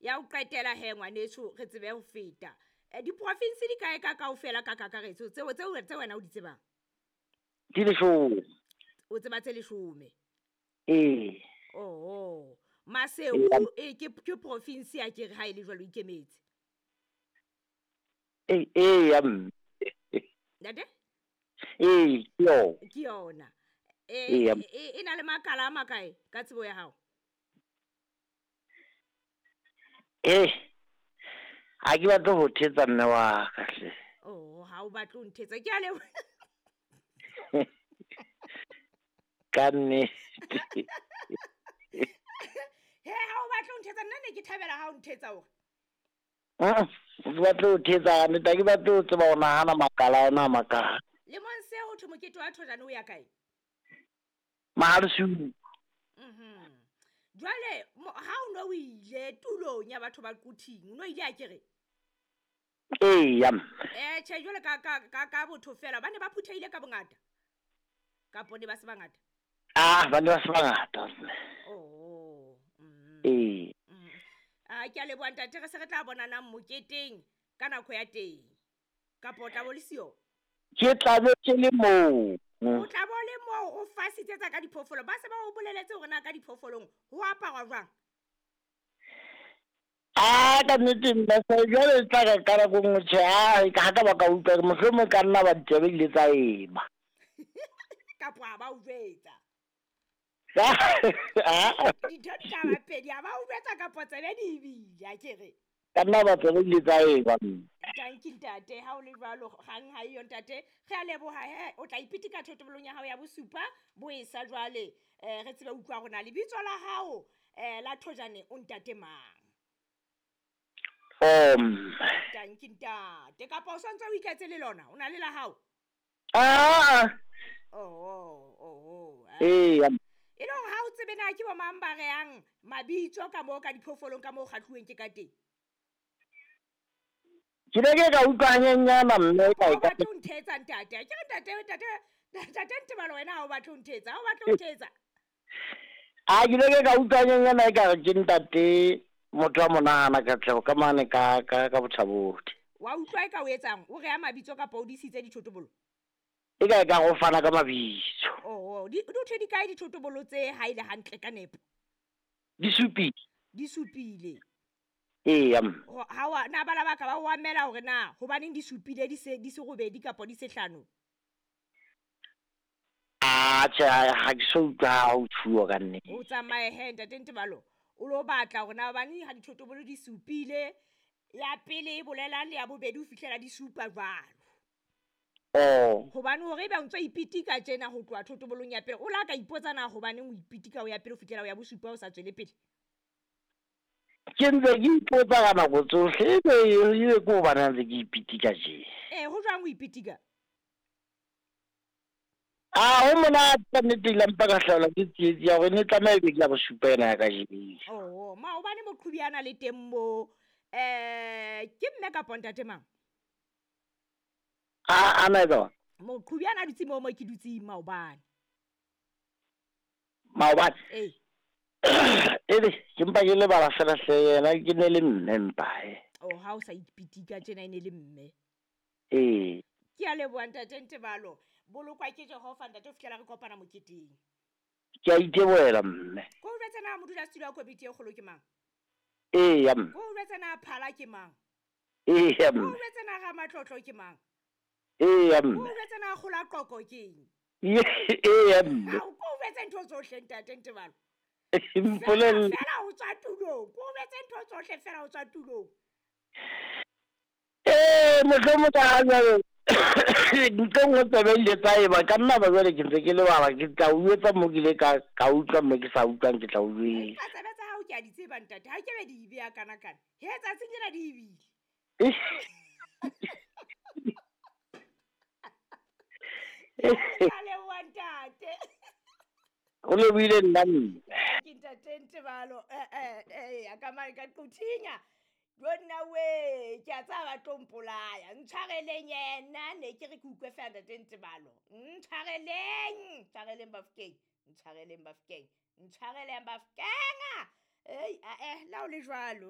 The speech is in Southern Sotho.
Ya ho qetela he ngwaneso, re tsebe ho feta. Diprofinsi di kae ka kaofela ka kakaretso tseo tseo tse wena o di tsebang? Di 10. O tseba tse 10? Ee. Oho. Maseru e ke province ya ke re ha ile jwalo ikemetse. Ee, ee ya mme. Ntate? Ee, ke yona. Ke yona. E na le makala a makae ka tsebo ya hao? Ha ke batle ho thetsa mme wa ka hle. Oh, ha o batle ho nthetsa. Ke a leboha. Ka nnete. He, ha o batle ho nthetsa, nna ne ke thabela ha o nthetsa hore. Ke batle ho thetsa, nnete ha ke batle ho tseba ho nahana makala ona a makae. Lemong se ho thwe mokete wa thojane o ya kae? Mahalesupa. Jwale ha o no o ile tulong ya batho ba Quthing, o no ile a kere? Ee, ya. Tjhe, jwale ka botho fela, ba ne ba phuthehile ka bongata. Kapo ne ba se bangata? Ah, ba ne ba se bangata. Oh. Ee. Ah, ke a leboha ntate, re se re tla bonana moketeng ka nako ya teng. Kapo o tla bo le siyo? Ke tla be ke le moo. O tla bo le moo o fasitsetsa ka diphoofolo. Ba se ba o boleletse hore na ka diphoofolong ho aparwa jwang? Ah, ka nnete nna se jwale tla ka ka nako nngwe tjhe, ah, ha ka ba ka utlwa, mohlomong ka nna ba ditsebe di ile tsa ema. Kapo ha ba o jwetsa. Ah. Dintho di tla ba pedi, ha ba o jwetsa kapo tsebe di ebile, a ke re. Ka nna ba tsebe di ile tsa ema. Tanki ntate, ha o le jwalo kgang ha eyo ntate. Re a leboha he, o tla ipitika thotobolong ya hao ya bosupa bo e sa jwale. Re tsebe utlwa rona lebitso la hao la thojane o ntate mang? Tanki ntate, kapa o santse o iketse le lona, o na le la hao? Ah. Oh. Ee. E le hore ha o tsebe na ke bo mang ba rehang mabitso ka moo ka diphoofolong ka moo kgahluweng ke ka teng? Ke ne ke ka utlwa hanyenyana mme ka O batle ho nthetsa ntate. Ke re ntate Ntebalo wena ha o batle ho nthetsa, ha o batle ho nthetsa. Ah, ke ne ke ka utlwa hanyenyana e ka re ke ntate motho wa monahana Katleho ka mane ka Bothabodi. Wa utlwa e ka o etsang? O reha mabitso kapa o disitse dithotobolo? E ka e ka go fana ka mabitso. Oh, di thwe di kae dithotobolo tse ha ile hantle ka nepo? Di supile. Di supile. Ee, ya. Ha wa na bala ba ka ba o amela hore na hobaneng di supile di se robedi kapa di se hlano? Ah, tjhe, ha ke so utlwa ha o tshuwa ka nnete. O tsamaye he ntate Ntebalo, o lo batla hore na hobaneng ha dithotobolo di supile, ya pele e bolela le ya bobedi ho fihlela di supa jwalo. Oh. Hobane hore ebe o ntso ipitika tjena ho tloha thotobolong ya pele, o la ka ipotsa na hobaneng o ipitika o ya pele ho fihlela o ya bosupa o sa tswele pele? Ke ntse ke ipotsa ka nako tsohle, ebe ke hobane ntse ke ipitika tje. Ho jwang o ipitika? Ah, ho monate ka nnete, ile mpa ka hlaelwa ke tsietsi ya hore ne tlameha ebe ke ya bosupa ena ya kajeno. Oh, maobane moqhubi a na le teng moo. Ke mme kapa ntate mang? Ah, ana etsa jwang? Moqhubi a na dutse moo mo ke dutseng maobane. Maobane? Ee. Ebe ke mpa ke lebala fela hle, yena ke ne le mme mpa he. Oh, ha o sa ipitika tjena e ne le mme. Ee. Ke a leboha ntate Ntebalo. Bolokwa ke Jehova ntate ho fihlela re kopana moketeng. Ke a itebohela mme. Ko o jwetse na modulasetulo wa komiti e kgolo ke mang? Ee, ya mme. Ko o jwetse na phala ke mang? Ee, ya mme. Ko o jwetse na ramatlotlo ke mang? Ee, ya mme. Ko o jwetse na kgola qoko ke eng? Ee, ya mme. Ko o jwetse ntho tsohle ntate Ntebalo. Mpolelle. Fela o tswa tulong. Ko o jwetse ntho tsohle fela o tswa tulong. Ee, mohlomong ka ha jwale ntho nngwe tsebe ile tsa eba ka nna ba jwale ke ntse ke lebala, ke tla o etsa mo ke ile ka utlwa mo ke sa utlwang ke tla o jwetsa. Empa tsebe tsa hao ke a di tseba ntate, ha ke be di beya kana kana. He tsatsing lena di ebile. Ke a leboha ntate. O lebohile nna mme. Ke ntate Ntebalo, ka mane ka Quthinya. Jo nna we, ke a tsaba ba tlo mpolaya. Ntshwareleng yena, ne ke re ke utlwe fela ntate Ntebalo. Ntshwareleng, ntshwareleng Bafokeng, ntshwareleng Bafokeng, ntshwareleng Bafokeng. Ei, la o le jwalo.